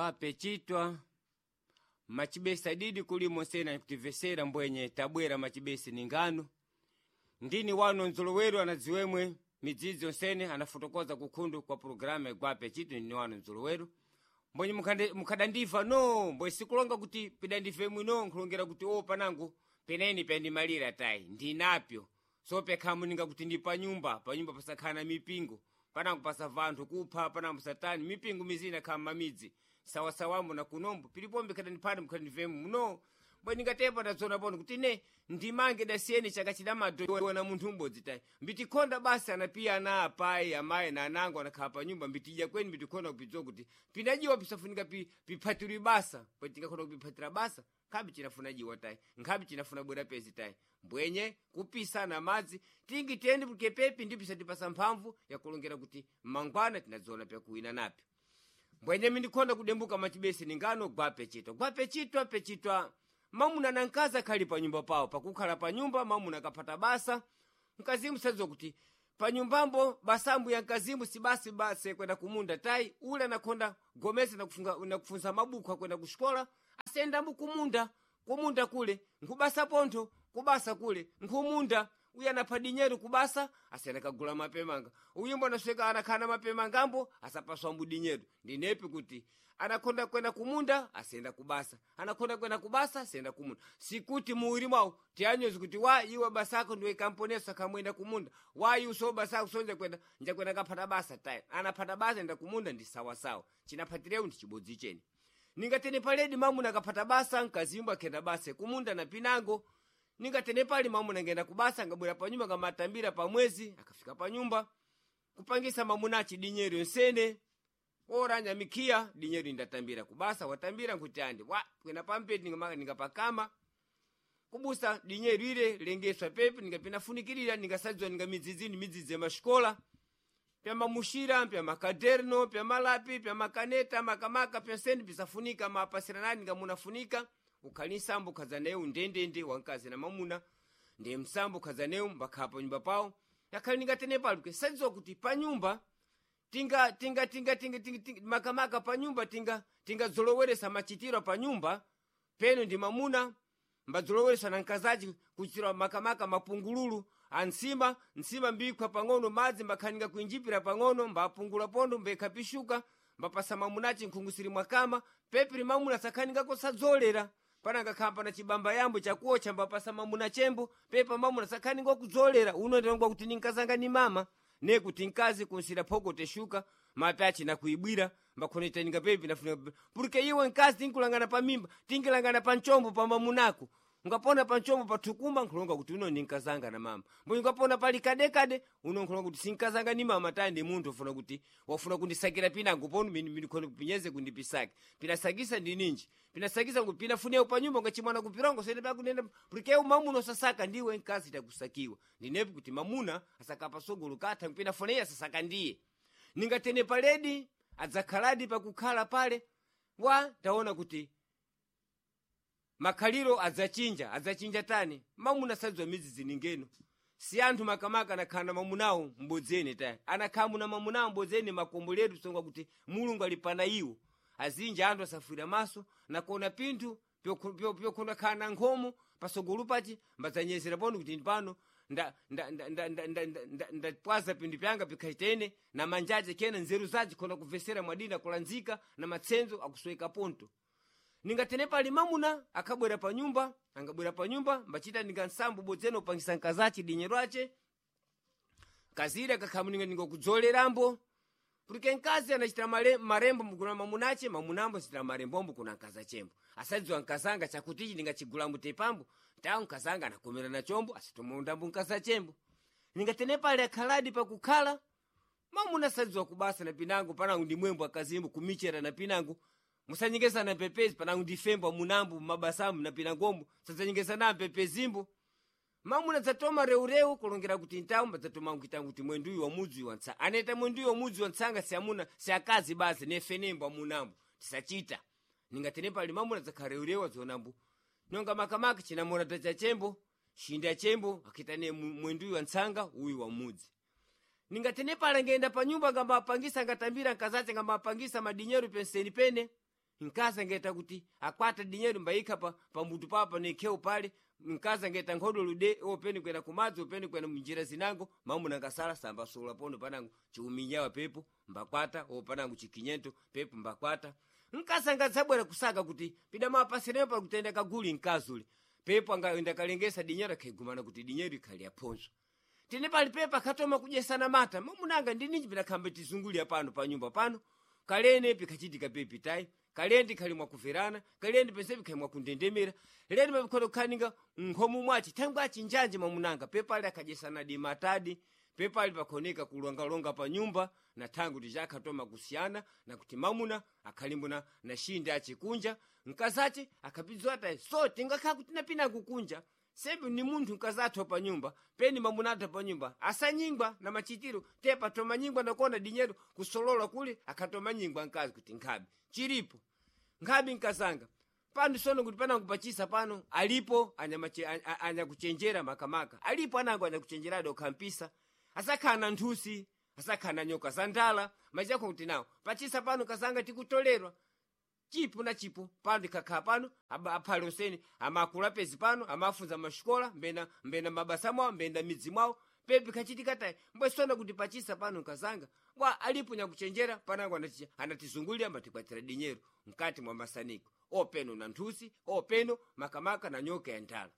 Gwapechitwa macibesa didi kulimo sena kutivesera mbwenye tabwera macibesi ni ngano ndini wano nzolowero anadziwemwe midzidzi yonsene anafotokoza kukhundu kwa pulogalamu ya gwapechitwa ndini wano nzolowero mbwenye mukhadandiva no mbwe sikulonga kuti pidandive mwino nkhulongera kuti o panangu peneni pendimalira tayi ndinapyo so pekhamuninga kuti ndi panyumba panyumba pasakhala na mipingo panangu pasava anthu kupha panangu pasatani mipingo mizina khala mamidzi sawasawambo na kunombo pilipombe khadandiphani mukhandivemu muno mbwe ndingatepa ndadzona pono kuti ne ndimange dasiyeni chaka chidamato na munthu umbodzi tayi mbitikhonda basi anapiya ana apayi amayi na anango anakhala panyumba mbitidya kweni mbitikhonda kupidziwa kuti pinajiwa pisafunika piphatirwe basa bwe tingakhonda kupiphatira basa nkhabe cinafuna jiwa tayi nkhabe cinafuna bwera pezi tayi mbwenye kupisana madzi tingi tiyeni porque pepi ndipo pisatipasa mphamvu yakulongera kuti mangwana tinadziona pyakuwina napyo mbwenye mindikhonda kudembuka machibesi ningano gwapechitwa gwapechitwa pechitwa mamuna na mkazi akhali panyumba pawo pakukhala panyumba mamuna akaphata basa mkazimu sadziwa kuti panyumbambo basambu ya mkazimu si basi basi kwenda kumunda tayi ule anakhonda gomesa nakufunza mabuku akwenda kuxikola asendambo kumunda kumunda kule nkhubasa pontho kubasa kule nkhumunda uyu anapha dinyeru kubasa asiyana kagula mapemanga uyimbo anasweka anakhala na mapemangambo asapaswambu dinyeru ndinepi kuti anakhonda kwenda kumunda asiyenda kubasa anakhonda kwenda kubasa asiyenda kumunda sikuti muwiri mwawo tiyanyozi kuti wa iwe basako ndiwe kamponeso akamwenda kumunda wa iwe so basako sonja kwenda njakwenda kaphata basa tayi anaphata basa enda kumunda ndi sawasawa chinaphatireu ndi chibodzi cheni ningatene paledi mamuna akaphata basa mkazimbo akhenda basa kumunda na pinango ningatene pali mamuna ngenda kubasa angabwera panyumba ngamatambira pamwezi akafika panyumba kupangisa mamuna achi dinyero yonsene oranya mikhiya dinyero indatambira kubasa watambira nkuti andi wa kwena pampeti ningapakama kubusa dinyero ile lengeswa pepi ningapinafunikirira ningasadziwa ninga midzidzini midzidzi ya maxikola pya mamuxira pya makaderno pya malapi pya makaneta makamaka pyonsene pisafunika mapasiranani ningamunafunika ukhali nsambo ukhaza naye undendende wamkazi na mamuna ndiye msambo ukhaza naye mbakhala panyumba pawo yakhali ningatene pali porque sadziwa kuti panyumba tinga tinga tinga tinga tinga, tinga makamaka panyumba tinga tingadzoloweresa machitiro panyumba peno ndi mamuna mbadzoloweresa na mkazaci kuchitira makamaka mapungululu ansima nsima mbikhwa pang'ono madzi mbakhaninga kuinjipira pang'ono mbapungula pondo mbekhapishuka mbapasa mamunaci nkhungusiri mwakama pepiri mamuna sakhaninga kosadzolera pananga khamba na chibamba yambo chakuocha mbapasa mamuna chembo pepa mamuna sakhaninga kudzolera uno ndilongwa kuti ninkazanga ni mama ne kuti mkazi kunsira phoko teshuka mape achina kuibwira mbakhonetaninga pepi nafuna porque iwe mkazi tinkulangana pa mimba tinkilangana pa mchombo pa mamunako ungapona pa mchombo pathukuma nkhulonga kuti uno ninkazanga na mama mbo ungapona pali kadekade uno nkhulonga kuti sinkazanga ni mama tayi ndi munthu ufuna kuti wafuna kundisakira pinango ponu minikhone kupinyeze kundipisake pinasakisa ndi ninji pinasakisa kuti pinafunewo panyumba ungachimwana kupirongo sene pakunena porque eu mamuna usasaka ndiwe mkazi takusakiwa ndinepi kuti mamuna asakapa sogolo katha mpinafuneyo asasaka ndiye ningatene paledi adzakhaladi pakukhala pale wa taona kuti makhaliro adzachinja adzachinja tani mamuna sadziwa midzidzi ningeno si anthu makamaka anakhala na mamunawo mbodzeni tani anakhala muna mamunawo mbodzeni makomboletu songa kuti mulungu ali pana iwo azinja anthu asafwira maso nakuona pinthu pyokhonda khala na nkhomo pasogolo pachi mbadzanyezera pano kuti pano ndapwaza pinthu pyanga pikhachitene na manjaje kena nzeru zace khona kubvesera mwadina kulanzika na matsenzo akusweka ponto ningatene pali mamuna akabwera panyumba angabwera panyumba mbachita ninga nsambo bodzene upangisa nkazace dinyero ace kazire akakhamuninga ninga kudzolerambo porque mkazi anachita marembo mukuna mamunache mamunambo achitira marembombo kuna nkazachembo asadziwa nkazanga chakutichi ndingachigulambo tepambo tawo nkazanga anakomera na chombo asitomaundambo nkazachembo ningatene pali akhaladi pakukhala mamuna asadziwa kubasa na pinango panango ndi mwembo akazimbo kumichera na pinango musanyengezana mpepezi panango ndifembo amunambo mabasambo na pinangombo sadzanyengezana mpepezimbo mamuna dzatoma reureu kulongera kuti ntawu mbadzatoma nkuita kuti mwenduyu wamudzi wa ntsanga aneta mwenduyu wamudzi wa ntsanga si amuna si akazi basi nefenembo amunambo tisachita ningatene pali mamuna dzakhala reureu adzionambo nonga makamaka chinamorata cha chembo shinda chembo akitane mwenduyu wa ntsanga uyu wamudzi ningatene pala ngenda panyumba ngambapangisa ngatambira nkazace ngambapangisa madinyero penseni pene Nkazi angeta kuti akwata dinyeru mbayikha pamutu pawo pano pale. Mkazi angeta nkhodo lude openi kwena kumadzi, openi kwena munjira zinango. Mamuna ngasala sambasola pono panango chiuminyawa pepo mbakwata, o panango chikinyento pepo mbakwata. Mkazi angadzabwera kusaka kuti pidamapasirepo pali kutenda kaguli mkazi uli pepo angaenda kalengesa dinyeru akhaigumana kuti dinyeru ikhali yaphonso. Tine pali pepo akhatoma kudyesana mata, mamunanga ndininji pidakhambe tizungulira pano pa nyumba pano. Kalene pikhachitika pepi tayi, kalende khali mwakuverana, kalende pensepi khali mwakundendemera, leni mapikhoto kukhaninga nkhomu mwachi thangwi achinjanje mamunanga pepali akhadyesana di matadi pepali pakhoneka kulongalonga pa nyumba na thangwi kuti chakhatoma kusiyana na kuti mamuna akhalimbuna na shinde achikunja mkazache akhapidziwa tayi. So tingakhala kuti napina kukunja sembe ni munthu mkazathu pa nyumba peni mamunathu pa nyumba asanyingwa na machitiro tepa tomanyingwa nakona dinyeru kusolola kule akhatomanyingwa mkazi kuti nkhabe chilipo nkhabe mkazanga pano sono kuti panango pachisa pano alipo anyakuchenjera makamaka alipo anango anyakuchenjeradi okhampisa asakhala na nthusi, asakhala na nyoka za ndala machako kuti nawo pachisa pano kazanga tikutolerwa chipo na chipo pano ndikakhala pano aphale useni amakula pezi pano amafunza maxikola mbena mbena mabasa mwawo mbena midzi mwawo pepi khachitika tayi mbwesona kuti pachisa pano nkazanga wa alipo nyakuchenjera panango anatizungulira mbatikwatira dinyero mkati mwa masaniko openo na nthusi openo makamaka na nyoka ya ndala.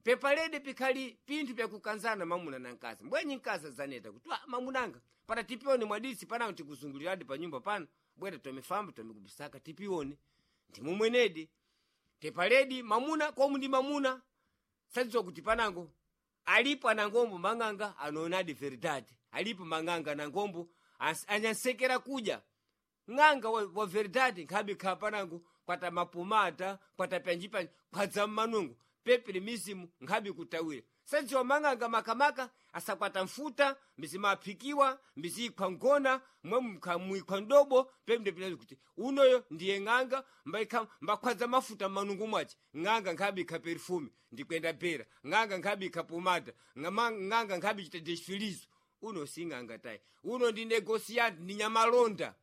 Pepalede pikhali pinthu pyakukanzana mamuna na mkazi mbwenyi mkazi adzaneta kuti wa mamunanga pana tipione mwadisi panango tikuzunguliradi pa nyumba pano bwera tomifamba tomikubisaka tipione ndimumwenedi. Tepaledi mamuna komu ndi mamuna sadziwa kuti panango alipo anangombo mang'anga anoonadi verdade, alipo mang'anga anangombo anyansekera kudya ng'anga wa verdade nkhabe khala panango kwata mapomata kwata pyanjipanji khwadza mmanungo pepere mizimu nkhabe kutawira. Sadziwa mang'anga makamaka asakwata mfuta mbizimaphikiwa mbiziikhwa ngona mwe muikhwa mdobo pembe pinazi kuti unoyo ndiye ng'anga mbakhwadza mafuta mmanungo mwace. Ng'anga nkhabe ikha perfume ndikwenda bera, ng'anga nkhabe ikha pomada, ng'anga nkhabe ichita desfilizo. Uno si ng'anga tayi, uno ndi negosiyanti ndi nyamalonda.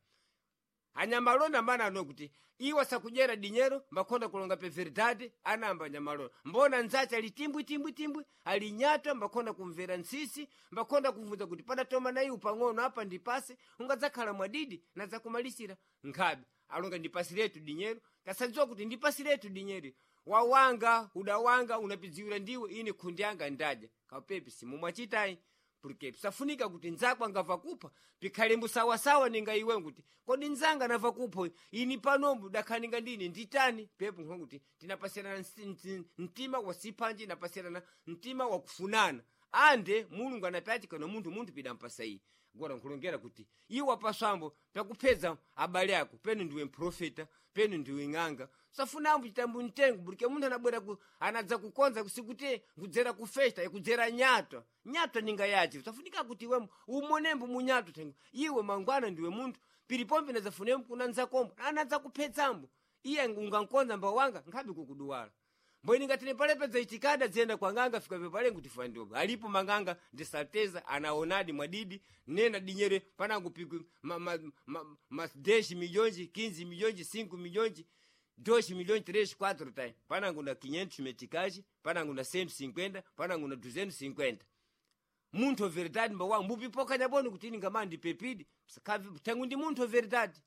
Anyamalonda mana ano kuti iwo asakudyera dinyero mbakhonda kulonga pe verdade anamba anyamalonda mbona nzache ali timbwi timbwi timbwi ali nyatwa mbakhonda kumvera ntsisi mbakhonda kuvunza kuti padatoma na iwu pang'ono apa ndipase ungadzakhala mwadidi nadzakumalisira nkhabe alonga ndipasiretu dinyero kasadziwa kuti ndipasiretu dinyero wawanga udawanga unapidziwira ndiwe ine khundi yanga ndadya kapepi simumwachitayi porque pisafunika kuti nzako angamva kupha pikhale mbusawasawa ninga iwe kuti kodi nzanga anamva kupha ini panombo dakhaninga ndine nditani pepo nkho kuti tinapasirana mtima wasiphanji inapasirana mtima wakufunana ande mulungu anapyati kana munthu munthu pidampasa iye gora nkhulongera kuti iwe apaswambo pyakuphedza abale ako penu ndiwe mprofeta penu ndiwe ng'anga safunambo chitambo mtengo porque munthu anabwera anadza kukonza kusikuti nkudzera ku festa ikudzera nyatwa nyatwa ninga yache safunika kuti iwe umonembo munyatwa thengo iwe mangwana ndiwe munthu pilipombe nadzafunembo kuna nzakombo anadza kuphedzambo iye ungankonza mbawu wanga nkhabe kukuduwala mbweni ngati palepedza itikada dziyenda kwa ng'anga fika pepale kuti fandiwo alipo mang'anga ndisateza anaonadi mwadidi nena dinyere panango pikwi ma, ma, ma, ma 10 milhões 15 milhões 5 milhões 2 milhões 3 4 tai panango na 500 meticais panango na 150 panango na 250 munthu verdade mbawa mbupipoka nyaboni kuti ningamandi pepidi tangu ndi munthu verdade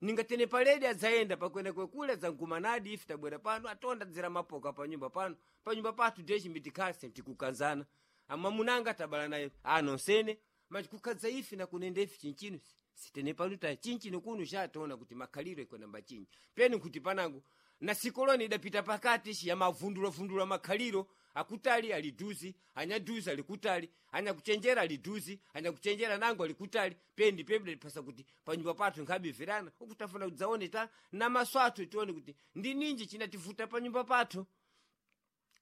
ningatene paledi adzayenda pakwenda kwekule adzankumanadi ife tabwera pano atonda dzera mapoka panyumba pano panyumba pathu ndechimbitikase tikukanzana amamunanga tabala naye anonsene machi kukadza ife nakunenda ife chinchino sitene pano ta chinchino kuno chataona kuti makhaliro ikwenda mbachinji peni kuti panango na sikoloni idapita pakati shi yamavundulavundula makhaliro akutali aliduzi anyaduzi alikutali anyakuchenjera aliduzi anyakuchenjera nango alikutali pendi pendi pasa kuti panyumba pathu nkhabimverana ukutafuna kudzaone ta namaso athu tione kuti ndi ninji chinativuta panyumba pathu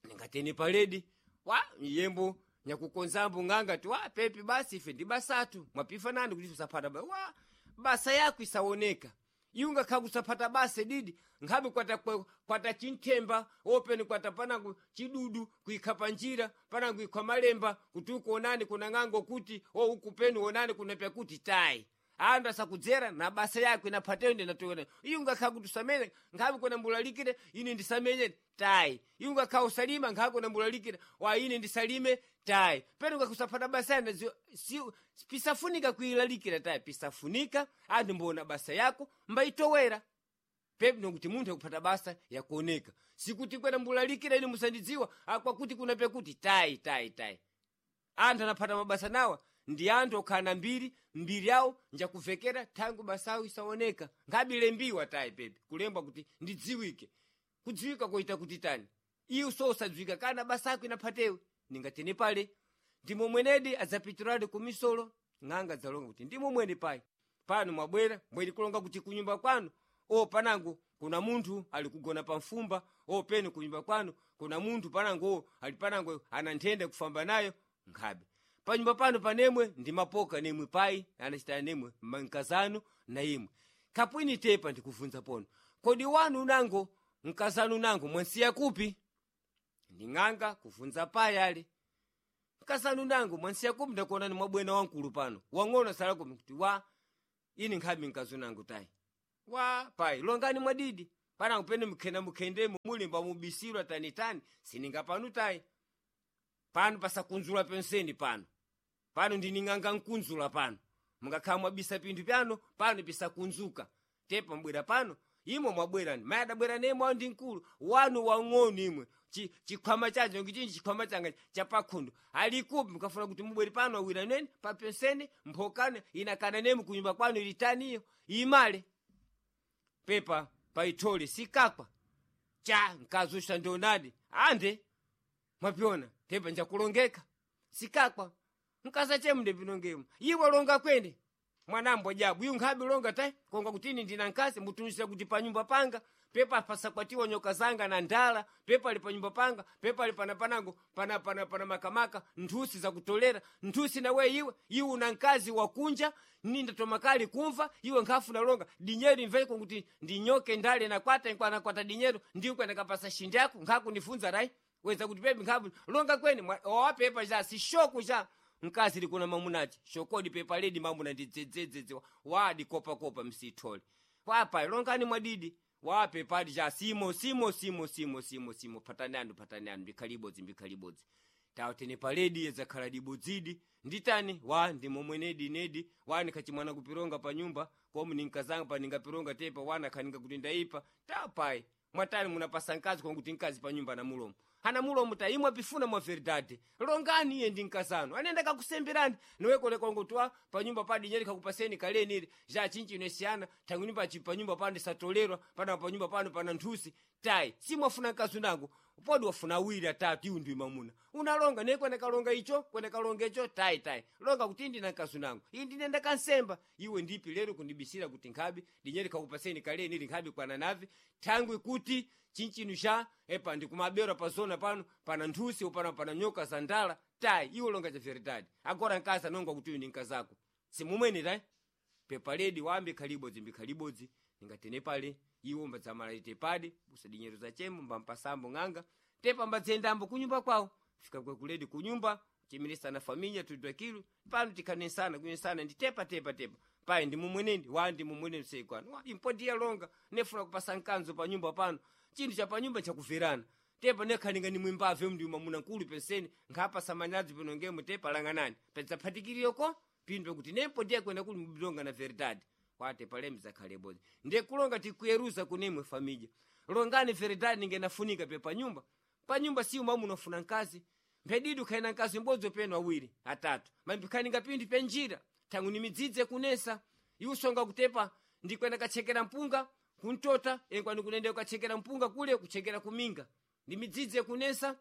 ningatene paledi wa yembo nyakukonzambo ng'anga ti wa pepi basi ife ndi basathu mwapifanani kuti usaphata ba wa basa yako isaoneka iwe ungakhala kusaphata basa didi nkhabe kwata kwata chinthemba openi kwata panango chidudu kuikha panjira panango ikha malemba kuti ukuonani kuna ng'ango kuti o uku peni onani kuna pyakuti tayi. Andu asakudzera na basa yako inaphateyo ndinatowera. Iye ungakhala kuti usamene nkhabe kwena mbulalikire ine ndisamenye tayi. Iye ungakhala usalima nkhabe kwena mbulalikire wa ine ndisalime tayi. Peno ungakusaphata basa yana si, pisafunika kuilalikira tayi pisafunika anthu mboona basa yako mbayitowera. Pepe nokuti munthu akuphata basa yakuoneka sikuti kwena mbulalikira ine musandidziwa akwakuti kuna pekuti tayi tayi tayi. Anthu anaphata mabasa nawa ndi anthu okhala na mbiri mbiri yawo njakuvekera thangu basawo isaoneka nkhabe lembiwa tayi pepe kulembwa kuti ndidziwike kudziwika koita kuti tani iwe so usadziwika kana basa ako inaphatewe ningatene pale ndimo mwenedi adzapitiradi kumisolo ng'anga dzalonga kuti ndimo mwene payi pano mwabwera mbweni kulonga kuti kunyumba kwanu o panango kuna munthu ali kugona pa mfumba o peno kunyumba kwanu kuna munthu panango o ali panango ana nthenda kufamba nayo nkhabe panyumba pano panemwe ndi mapoka nemwe payi anachita nemwe mkazanu na imwe kapwini tepa ndikuvunza pono kodi wanu unango mkazanu unango mwansiya kupi nding'anga kuvunza payi ali mkazanu unango mwansiya kupi ndakuonani mwabwena wankulu pano wang'ono sala kupi kuti wa ini nkhabe mkazi unango tayi wa payi longani mwadidi panango pene mukhenda mukhendemo mulimba mubisirwa tanitani sininga panu tayi pano pasakunzula penseni pano pano ndining'anga nkunzula pano mungakhala mwabisa pinthu pyano pano pisakunzuka tepa mbwera pano imwe mwabwerani mayi adabwera nemwe awo ndi mkulu wanu wang'ono imwe chikhwama chanje ngichinji chikhwama changa chapakhundu alikupi mukafuna kuti mubwere pano awira nene papenseni mphokane inakana nemu kunyumba kwanu ilitaniyo imale pepa paithole sikakwa cha mkazi ndionadi ande mwapyona tepa njakulongeka sikakwa mkaza chemde pinongemo iwe longa kwene mwanambo jabu iyu nkhabe longa tai konga kutini ndina nkasi mbutunisira kuti panyumba panga pepa pasakwatiwa nyoka zanga na ndala pepa ali panyumba panga pepa ali pana panango pana pana pana makamaka nthusi zakutolera nthusi nawe iwe iwe una nkazi wakunja ninda tomakali kumva iwe nkhafu nalonga dinyero imveko kuti ndinyoke ndale nakwata nakwata dinyero ndiwe nakapasa shindi yako nkhakundifunza rai weza kuti pepe nkhabu longa kwene owapepa cha sishoko cha mkazi likuna mamunachi shokodi pepa ledi mamuna ndi dzedzedzedze wadi kopakopa msithole wapa longani mwadidi wapepadi cha simo simo simo simo simo simo patani anu patani anu mbikhalibodzi mbikhalibodzi tawatene paledi yedzakhala dibodzidi nditani wa ndimomwenedi nedi wani khachimwana kupironga pa nyumba komu ninkazanga pa ningapironga tepa wana khaninga kuti ndaipa tapayi mwatani munapasa mkazi konkuti mkazi pa nyumba na mulomo ana mulomo ta imwe pifuna mwa verdade longani iye ndi mkazano anenda kakusemberani niwekolekongotiwa pa nyumba padi nyeri kakupaseni kaleni ili ja chinchi inesiyana thangwini pachi pa nyumba pano ndisatolerwa pana pa nyumba pano pana nthusi tayi simwafuna mkazi unango podi wafuna awiri atatu iwu ndi mamuna unalonga naye kwene kalonga icho kwene kalonga icho tayi tayi longa kuti ndina mkazi unango iyi ndinenda kansemba iwe ndipi lero kundibisira kuti nkhabe dinyeri kakupaseni kaleni ili nkhabe kwana navi thangwi kuti chinchinu cha epa ndikumabera pa zona pano pana nthusi upano pana nyoka za ndala tayi iwe longa cha veridadi agora mkazi anonga kuti uyu ndi mkazako simumwene tayi pepa ledi wambi khalibodzi mbikhalibodzi ningatene pale iwo mbadzamala pade busadinyero zachemo mbampasambo ng'anga tepa mbadzendambo kunyumba kwawo fika kwekuledi kunyumba chimirisana familia tudwakilu pano tikhanesana kunyesana ndi tepa tepa tepa payi ndi mumweneni wa ndi mumweneni seikwanu wa impodiya longa nefuna kupasa mkanzo pa nyumba pano chinthu cha panyumba chakuverana tepa nekhalinga ni mwimbave mndi mamuna nkulu penseni nkhapasa manyazi pano ngemo tepa langanani pedzaphatikiriyoko pindwe kuti nempodiya kwenda kuli mbilonga na veridade kwate palemi zakhalebodzi ndiye kulonga tikuyeruza kunemwe famija longani veridade ningenafunika pe panyumba panyumba siyo mwamuna ufuna mkazi mphedidi ukhaena mkazi mbodzi peno awiri atatu mambikhaninga pinthu penjira thangu ni midzidzi kunesa iwe kutepa ndikwenda kachekera mpunga kuntota enkwani kunenda kukachekera mpunga kule kuchekera kuminga ndi midzidzi kunesa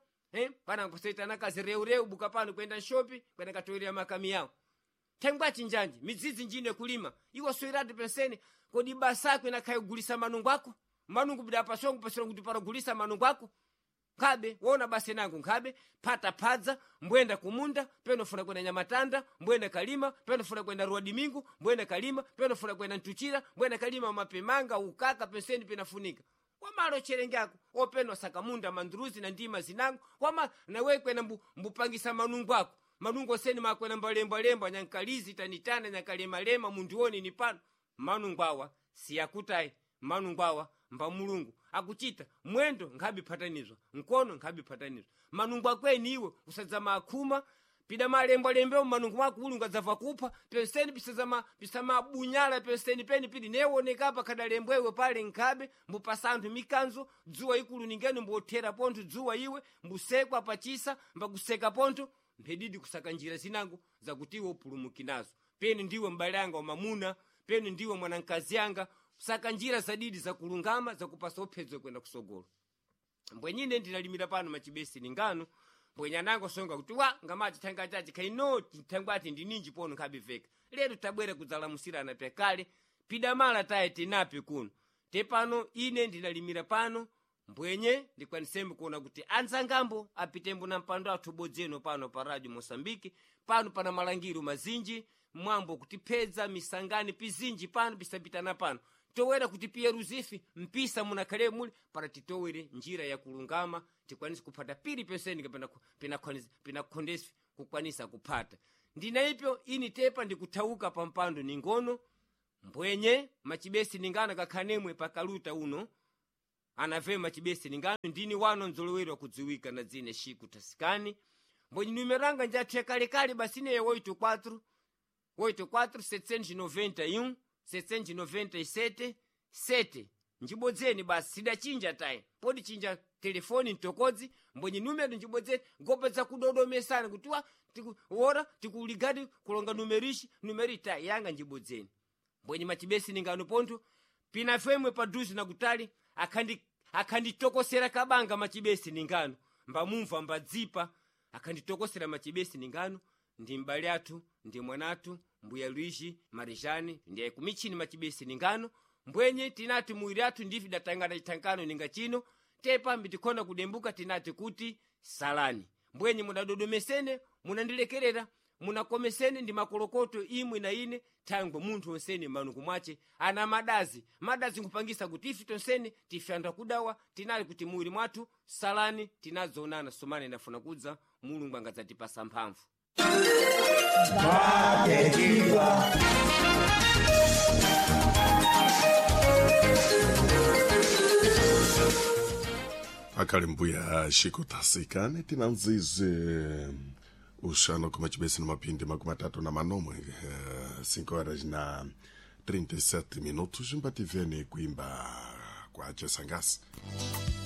pana kusaitana kazi reureu buka pano kwenda nshopi kwenda katoerera makami yawo thengwa chinjanji midzidzi njine kulima iwe soirati penseni kodi basako inakhaye kugulisa manungu ako manungu bida pasongo pasongo kuti paragulisa manungu ako nkhabe wona basi nangu nkhabe phata phadza mbwenda kumunda peno funa kwenda nyamatanda mbwenda kalima peno funa kwenda rua dimingu mbwenda kalima peno funa kwenda ntuchira mbwenda kalima mapemanga ukaka penseni penafunika wamalo cherengako openo sakamunda mandruzi na ndima zinango wama nawe kwena mbupangisa manungu ako. Manungo osene makwena mbalembalemba nyankalizi tanitana nyakalemalema mundione ni pano. Manungo awa siyakutayi, manungo awa mba Mulungu akuchita mwendo nkhabiphatanizwa, mkono nkhabiphatanizwa. Manungo akweni iwe usadzama akhuma pida malembalembewo manungo mwako Mulungu adzava kupha penseni pisazama pisamabunyala penseni peni pidi newonekapa khadalembwewe pale nkhabe mbupasa anthu mikanzo dzuwa ikulu ningeni mbothera pontho dzuwa iwe mbusekwa pachisa mbakuseka pontho mphedidi kusaka njira zinango zakuti iwe upulumuki nazo. Peni ndiwe m'bale anga wamamuna, peni ndiwe mwanamkazi anga, saka njira zadidi zakulungama zakupasa uphedzo kwenda kusogolo. Mbwenyine ndinalimira pano machibesi ningano mbwenye anango songa kuti wa ngamachi thanga chachi khaino thangwati ndininji pono nkhabiveka. Lero tabwera kudzalamusirana pyakale pidamala taye tinapi kuno te pano ine ndinalimira pano mbwenye ndikwanisembe kuona kuti anzangambo apitembo na mpando athu bodzeno pano pa Radio Mosambiki pano pana malangiro mazinji mwambo kutiphedza misangani pizinji pano pisapitana pano towera kuti piyeruzifi mpisa munakhale muli para titowere njira yakulungama tikwanise kuphata pili penseni kapena pinakhondesi kukwanisa kuphata. Ndina ipyo ini tepa ndikuthauka pa mpando ningono mbwenye machibesi ningano kakhanemwe pakaluta uno anave machibesi ningano ndini wano nzolowero akudziwika na dzine Shiku Tasikani mbwenye numeranga njathu yakalekale basi neye 84 84 791 797 7 njibodzeni basi sidachinja tayi podi chinja telefoni mtokodzi mbwenye numero njibodzeni ngopedza kudodomesana kuti wa wora tikuligadi kulonga numerishi numeri tayi yanga njibodzeni mbwenye machibesi ningano pontho pinafemwe paduze nakutali akhanditokosera kabanga machibesi ningano mbamumva mbadzipa akhanditokosera machibesi ningano ndi m'bale athu ndi mwanathu mbuya Luigi Marijani ndiye kumichini machibesi ningano mbwenye tinati muwiri athu ndife datangana chithankano ninga chino tepa mbitikhoda kudembuka tinati kuti salani mbwenye mudadodomesene munandilekerera munakomesene ndi makolokoto imwe na ine thangwe munthu onsene manuku mwace ana madazi madazi nkupangisa kuti ife tonsene tife anthu akudawa tinali kuti muwiri mwathu salani tinadzoonana somane ndafuna kudza Mulungu angadzatipasa mphamvu. Akhali mbuya Shiko Tasikani tinanzize uxano kuma chibesi na mapindi 36, 5 horas na 37 minutos mbativene kuimba kwa Chesangasi.